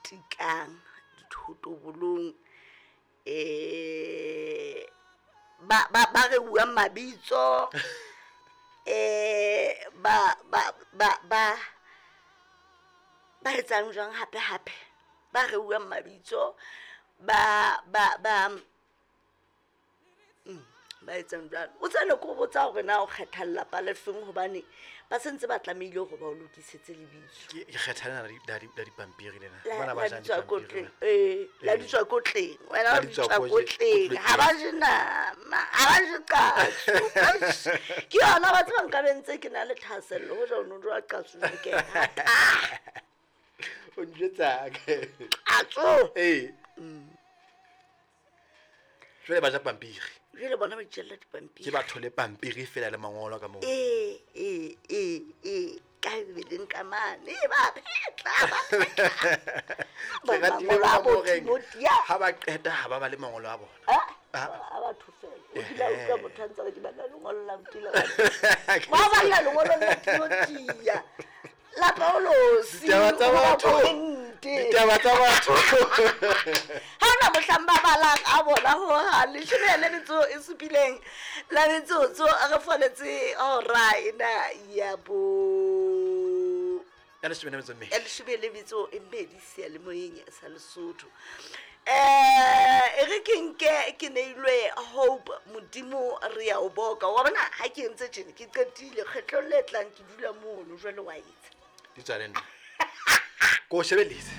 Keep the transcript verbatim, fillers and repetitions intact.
Tikang dithotobolong, eh ba ba ba re buang mabitso, eh ba ba ba ba ba etsang jwang hape hape, ba re buang mabitso, ba ba ba mm, ba etsang jwalo. O tsene ko botsa hore na o kgetha lelapa le feng, hobane ba sentse ba tlamehile hore ba o lokisetse lebitso. Ke ke kgetha lena la di- la di- la dipampiri lena. La- Bana ba la jang ditswakotleng, dipampiri. ee, la Ee. ditswakotleng, wena La wa ditswakotleng. ditswakotleng, ha ba je nama, ha ba je qatso. Eish, ke yona ba tseba nka be ntse ke na le thahasello hoja o no jwa qatso jwale ke e rata. O njwetsang? Qatso. Ee. Jwale ba ja pampiri. Jwale bona ba itjella dipampiri. Ke batho le pampiri fela le mangolo ka moo. Ee, ee, ee, ee, ka Bibeleng ka mane, ba phetla, ba phetla. Ke ratile Mangolo a ka bo moo reng, Timothea. ha ba qeta ha ba ba le mangolo a bona. Ah, Ah. a batho fela. O kile a utlwa motho a ntse a re ke balla lengolo la Motila. Ke Ba balla lengolo la Timothea. La Paulosi, Ditaba tsa ho ba batho. Korinthe. Ditaba tsa batho. Ha hona mohlang ba balang a bona hohang. Leshome le metso e supileng la metsotso re foletse hora ena ya bo Ya leshome le metso e mmedi. Ya leshome le metso e mmedi seyalemoyeng sa Lesotho. Eh, e re ke nke ke neilwe Hope Modimo re ya o boka. Wa bona ha ke entse tjena ke qetile, kgetlong le tlang ke dula mono jwale wa etsa. Di tswa le nna. Ko o shebelletse.